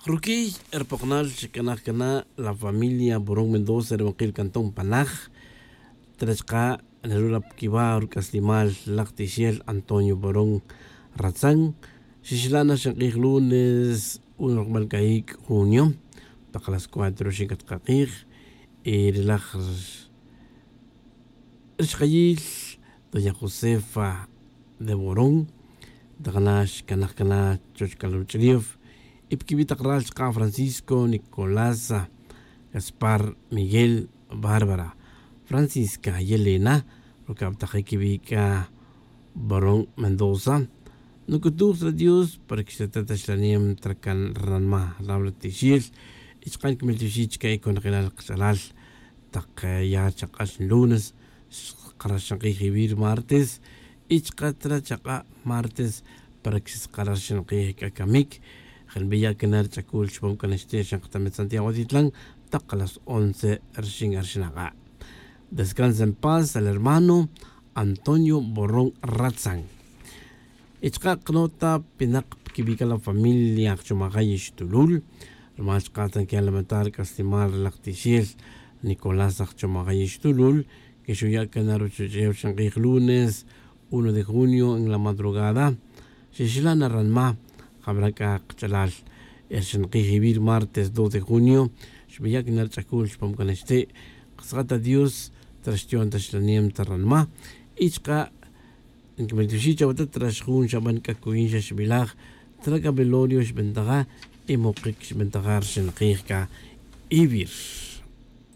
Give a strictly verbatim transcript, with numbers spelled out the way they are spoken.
Ruquiy ri pokonal xcanaj cana la familia borón mendoza ri winkil cantón panaj, trachka' nerula piquiva' ruc'aslimal laj tixel antonio borón ratzan. Xixla' na xink'ij lunes un rokmal cayic' junio tak las cuatro xink'at kak'ij. Y ri laj ri xkayil doña josefa de borón, tak na xcanaj cana chuwech c'a ruch'ulef y piquibi' tak ral chka' francisco nicolasa, gaspar, miguel, bárbara, francisca, yelena, rucabtajic quibi' c'a borón mendoza. Nuc'utuj ta dios para que xtatat ta xlanem ta racan ranma ral ri tixel. Y chka' niquimil tixel chca' y conjelal kach'alal tak ya chak'ax lunes, xkarax ri martes y chka' tra chak'a' martes, para que xkarax ri camic. Jenbiya' cana ri ch'acul chupam cana xti' xan katamet santiago atitlan tak las once rixin arixin ak'a'. Descansa en paz al hermano antonio borrón ratzan. Y chka' kanota pinak piquibi' c'a la familia ajchomajay ixtulul, rumal chka' ta nquiya' lamentar c'aslimal ri laj tixel nicolás ajchomajay ixtulul, que xuya' cana ruchuch'ew ri xink'ij lunes uno de junio en la madrugada. Xixla' na ranma jabra' c'a kach'alal ri xink'ij iwi' ri martes dos de junio, xbiya' cana ri ch'acul chupam cana xti'. Katz'at ta dios ta ri xtiyon ta xlanem ta ranma. Y chka' nquimiltioxi' chawata' ta ri xjun xaban c'a cuyin xa xbilaj, ta ri c'a velorio xbentaja y mokic xbentaja ri xink'ij c'a iwi' ri